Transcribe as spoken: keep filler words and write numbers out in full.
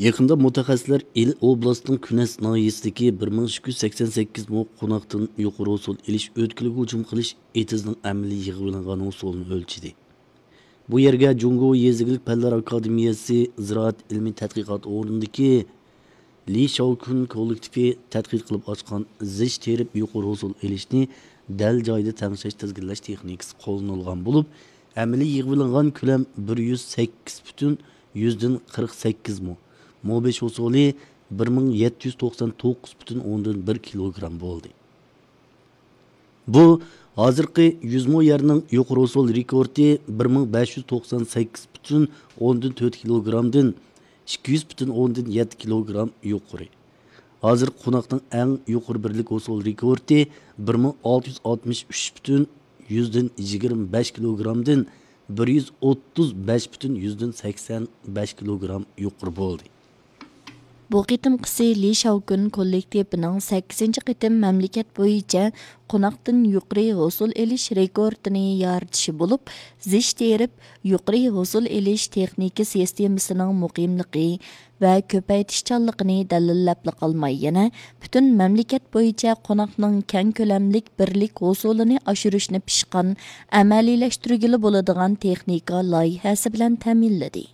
يېقىندا مۇتەخەسسىسلەر ئىلى ئوبلاستنىڭ كۈنەس ناھىيەسىدىكى بىر مىڭ ئىككى يۈز سەكسەن سەككىز مو قوناقتىن يۇقىرى ھوسۇل ئېلىش ئۆتكىلىگە ھۇجۇم قىلىش ئېتىزنىڭ ئەمەلىي يىغىۋېلىنغان ھوسۇلىنى ئۆلچىدى. بۇ يەرگە جۇڭگو يېزا ئىگىلىك پەنلەر ئاكادېمىيەسى زىرائەت ئىلمىي تەتقىقات ئورنىدىكى لى شاۋكۈن كوللېكتىپى تەتقىق قىلىپ ئاچقان زىچ تېرىپ يۇقىرى ھوسۇل ئېلىشنى دەل جايىدا تەڭشەش تىزگىنلەش تېخنىكىسى قوللىنىلغان بولۇپ، ئەمەلىي يىغىۋېلىنغان كۆلەم بىر يۈز سەككىز پۈتۈن يۈزدىن قىرىق سەككىز مو، مو بەش ھوسۇلى بىر مىڭ يەتتە يۈز توقسان توققۇز پۈتۈن ئوندىن بىر كىلوگرام بولدى. بۇ ھازىرقى يۈز مو يەرنىڭ يۇقىرى ھوسۇل رېكورتى بىر مىڭ بەش يۈز توقسان سەككىز پۈتۈن ئوندىن تۆت كىلوگرامدىن ئىككى يۈز پۈتۈن ئوندىن يەتتە كىلوگرام يۇقىرى. ھازىرقى قوناقنىڭ ئەڭ يۇقىرى بىرلىك ھوسۇل رېكورتى بىر مىڭ ئالتە يۈز ئاتمىش ئۈچ پۈتۈن يۈزدىن يىگىرمە بەش كىلوگرامدىن بىر يۈز ئوتتۇز بەش پۈتۈن يۈزدىن سەكسەن بەش كىلوگرام يۇقىرى بولدى. بۇ قېتىمقىسى لى شاۋكۈن كوللېكتىپىنىڭ سەككىزىنچى قېتىم مەملىكەت بويىچە قوناقتىن يۇقىرى ھوسۇل ئېلىش رېكورتىنى يارىتىشى بولۇپ، زىچ تېرىپ يۇقىرى ھوسۇل ئېلىش تېخنىكا سىستېمىسىنىڭ مۇقىملىقى ۋە كۆپەيتىشچانلىقىنى دەلىللەپلا قالماي، يەنە پۈتۈن مەملىكەت بويىچە قوناقنىڭ كەڭ كۆلەملىك بىرلىك ھوسۇلىنى ئاشۇرۇشنى پىشقان، ئەمەلىيلەشتۈرگىلى بولىدىغان تېخنىكا لايىھەسى بىلەن تەمىنلىدى.